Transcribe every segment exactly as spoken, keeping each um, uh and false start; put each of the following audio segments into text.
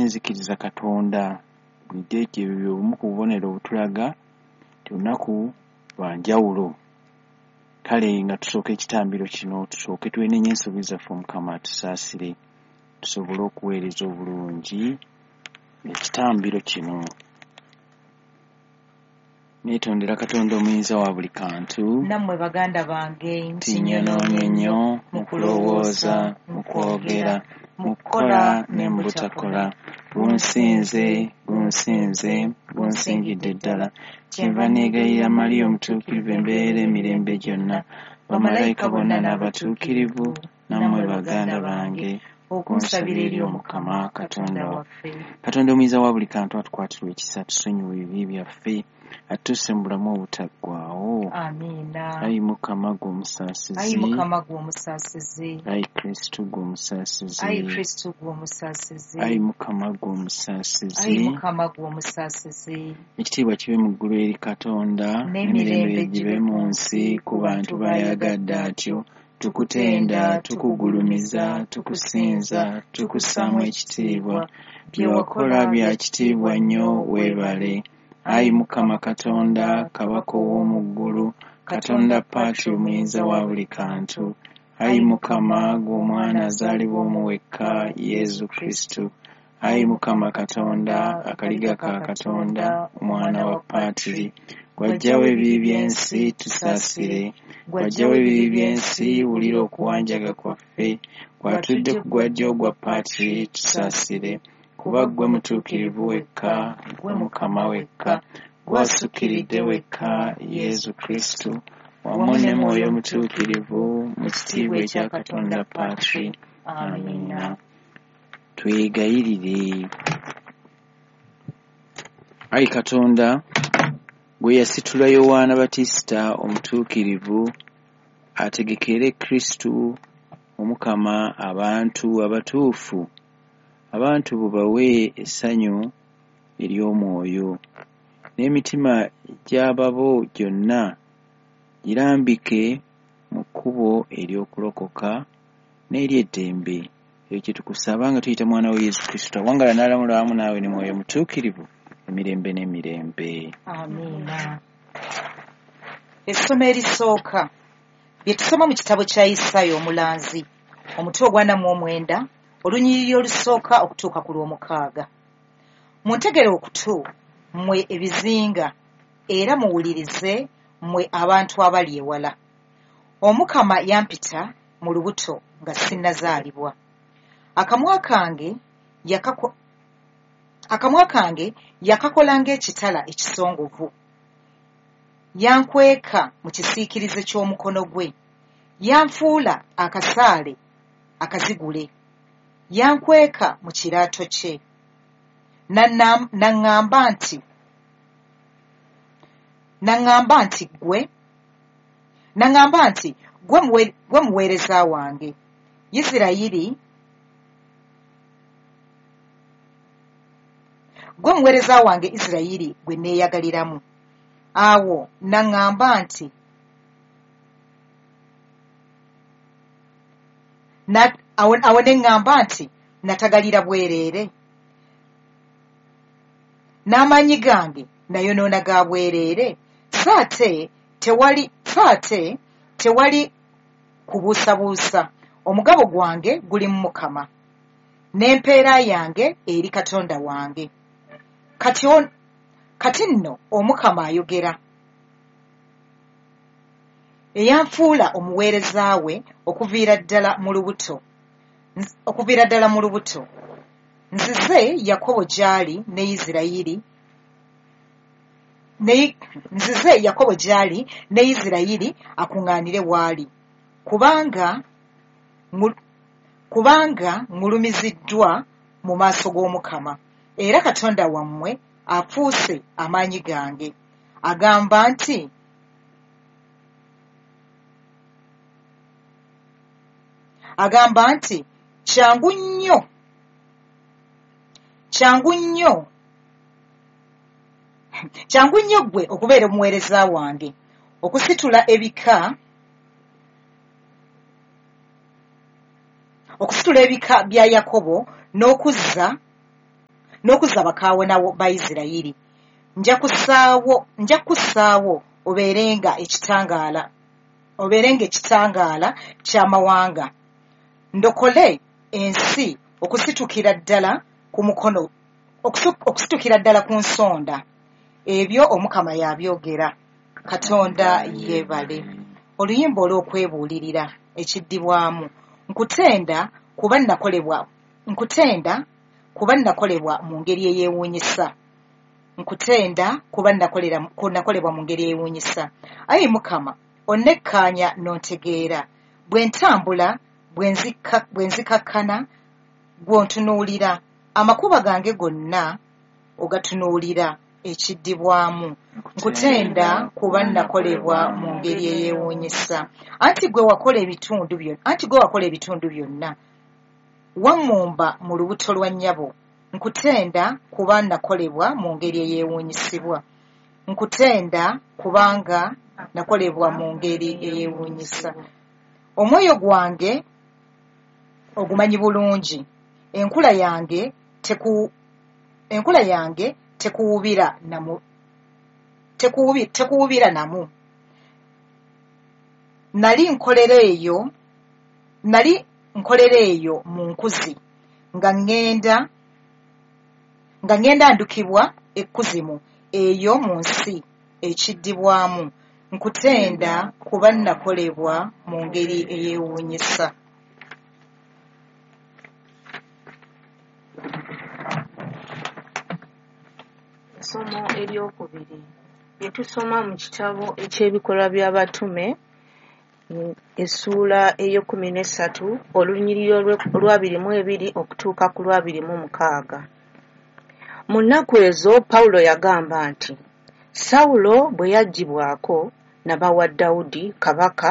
Nzikiriza Katonda. Bulijjo ekyo ebyo obumu ku bubonero obutulaga nti olunaku lwa njawulo. Kale nga tusooka ekitambiro kino, tusooke twenenye ensobi zaffe, Omukama atusaasire, tusobole okuweereza obulungi ekitambiro kino. Neetondera Katonda omuyinza wa buli kantu, nammwe baganda bange, nti nnyonoonye nnyo mu kulowooza, mu kwogera, mu kukola ne mu butakola. Gunsinze, gunsinze, gunsingidde ddala. Kyenva neegayirira Mariya omutuukirivu embeera emirembe gyonna, bamalayika bonna n'abatuukirivu, nammwe baganda bange, okunsabira eri Omukama Katonda waffe. Katonda omuyinza wa buli kantu atukwatirwe ekisa, tusonyiwe ebibi byaffe, atuuse mu bulamu obutaggwaawo. Amiina. Ayi Mukama ggwe omusaasizi, Ayi Mukama ggwe omusaasizi, Ayi Kristo ggwe omusaasizi, Ayi Kristo ggwe omusaasizi, Ayi Mukama ggwe omusaasizi, Ayi Mukama ggwe omusaasizi. Ekitiibwa kibe mu ggulu eri Katonda, n'emirembe gibe mu nsi ku bantu b'ayagadde atyo. Tukutenda, tukugulumiza, tukusinza, tukussaamu ekitiibwa. Bye wakola bya kitiibwa nnyo, weebale. Ayi Mukama Katonda, Kabaka ow'omu ggulu, Katonda Patri omuyinza wa buli kantu. Ayi Mukama, ggwe Omwana azaalibwa omu wekka, Yesu Kristo. Ayi Mukama Katonda, akaliga ka Katonda, Omwana wa Patri. Ggw'aggyawo ebibi by'ensi, tusaasire. Ggw'aggyawo ebibi by'ensi, wulira okuwanjaga kwaffe. Ggw'atudde ku gwa ddyo ogwa Patri, tusaasire. Kuba ggwe mutuukirivu wekka, ggwe Mukama wekka, ggwe asukkiridde wekka, Yesu Kristo, wamu ne Mwoyo Mutuukirivu, mu kitiibwa ekya Katonda Patri. Amiina. Twegayirire. Ayi Katonda, gwe yasitula Yowaana Batisita omutuukirivu ategekere Kristo Omukama abantu abatuufu, abantu bo bawe essanyu ery'omwoyo, n'emitima gy'ababo gyonna girambike mu kkubo ery'okulokoka n'ery'eddembe. Ekyo kye tukusaba nga tuyita Mwana we Yesu Kristo, awangaala n'alamula wamu naawe ne Mwoyo Mutuukirivu emirembe n'emirembe. Amiina. Essomo erisooka bye tusoma mu kitabo kya Isaaya omulanzi, omutwe ogw'ana mu omwenda, olunyiriri olusooka okutuuka ku lw'omukaaga. Muntegere okutu mmwe ebizinga, era muwulirize mmwe abantu abali ewala. Omukama yampita mu lubuto nga sinnazaalibwa. Akamwa kange yakako akamwa kange yakakola ng'ekitala ekisongovu. Yankweka mu kisiikirize ky'omukono gwe. Yanfuula akasaale akazigule. Yankweka mu kiraato kye. N'aŋŋamba nti n'aŋŋamba nti ggwe n'aŋŋamba nti ggwe muweereza wange, Isirayiri, ggwe muweereza wange Isirayiri gwe neeyagaliramu. Awo n'aŋŋamba nti awo ne ŋŋamba nti natagalira bwereere, n'amaanyi gange nayonoona ga bwereere, so ate tewali so ate tewali kubuusabuusa, omugabo gwange guli mu Mukama, n'empeera yange eri Katonda wange. Kati kati nno Omukama ayogera, eyanfuula omuweereza we okuviira ddala mu lubuto okuviira ddala mu lubuto. Nzize Yakobo gy'ali ne Isirayiri ne nzize Yakobo gy'ali ne Isirayiri akuŋŋaanire w'ali, kubanga kubanga ngulumiziddwa mu maaso g'Omukama, era Katonda wammwe afuuse amaanyi gange. Agamba nti agamba nti kyangu nnyo kyangu nnyo kyangu nnyo ggwe okubeera omuweereza wange, okusitula ebika okusitula ebika bya Yakobo n'okuzza n'okuzza bakaawonawo ba Isirayiri. Nja kussaawo nja kussaawo obeerenga ekitangaala obeerenga ekitangaala ky'amawanga, ndokole ensi okusitukira ddala ku mukono okusitukira ddala ku nsonda. Ebyo Omukama y'abyogera. Katonda yeebale. Oluyimba olw'okwebuulirira ekiddibwamu. Nkutenda kuba nakolebwa nkutenda kuba nakolebwa mu ngeri eyeewuunyisa. Nkutenda kuba nakolera nakolebwa mu ngeri eyeewuunyisa. Ayi Mukama, onnekkaanya n'ontegeera. Bwe ntambula, bwe nzikakkana, gw'ontunuulira. Amakubo gange gonna ogatunuulira. Ekiddibwamu. Nkutenda kuba nakolebwa mu ngeri eyeewuunyisa. Anti gwe wakola ebitundu byonna, anti gwe wakola ebitundu byonna. Wammumba mu lubuto lwa nnyabo. Nkutenda kuba nakolebwa mu ngeri eyeewuunyisibwa. Nkutenda kubanga nakolebwa mu ngeri eyeewuunyisa. Omwoyo gwange ogumanyi bulungi. Enkula yange teku enkula yange tekuwubira namu tekuwubi tekuwubira namu. Nali nkolera eyo nali nkolera eyo mu nkuzi nga ŋŋenda nga ŋŋenda ndukibwa ekkuzimu eyo mu nsi ekiddibwamu. Nkutenda kuba nakolebwa mu ngeri eyeewuunyisa. Essomo eryokubiri lye tusoma mu kitabo eky'Ebikolwa by'Abatume essuula ey'ekkumi n'essatu olunyiriri olw'abiri mu ebiri okutuuka ku lw'abiri mu mukaaga. Mu nnaku ezo Pawulo yagamba nti, Sawulo bwe yaggyibwako n'abawa Dawudi kabaka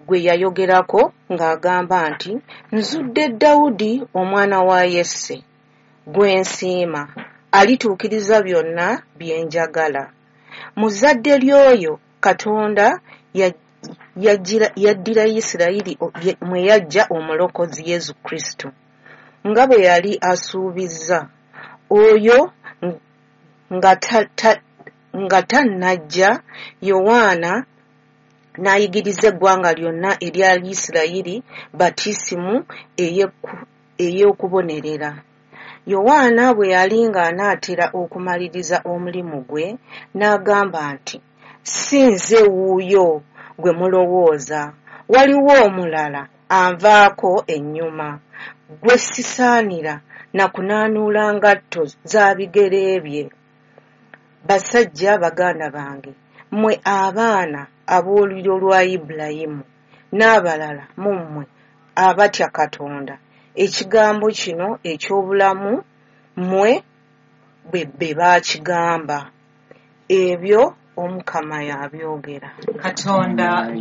gwe yayogerako ng'agamba nti, Nzudde Dawudi omwana wa Yese gwe nsiima, alituukiriza byonna bye njagala. Mu zzadde ly'oyo Katonda yaddira Isirayiri mwe yaggya Omulokozi Yesu Kristo, nga bwe yali asuubizza. Oyo nga tannajja, Yowaana n'ayigiriza eggwanga lyonna erya Isirayiri batisimu ey'okubonerera. Yowaana bwe yali ng'anaatera okumaliriza omulimu gwe, n'agamba nti, Si nze wuuyo gwe mulowooza, waliwo omulala anvaako ennyuma, gwe sisaanira na kunaanuula ngatto za bigere bye. Basajja baganda bange, mmwe abaana ab'olulyo lwa Ibulayimu n'abalala mu mmwe abatya Katonda, ekigambo kino eky'obulamu mmwe be baakigamba. Ebyo Omukama y'abyogera. Katonda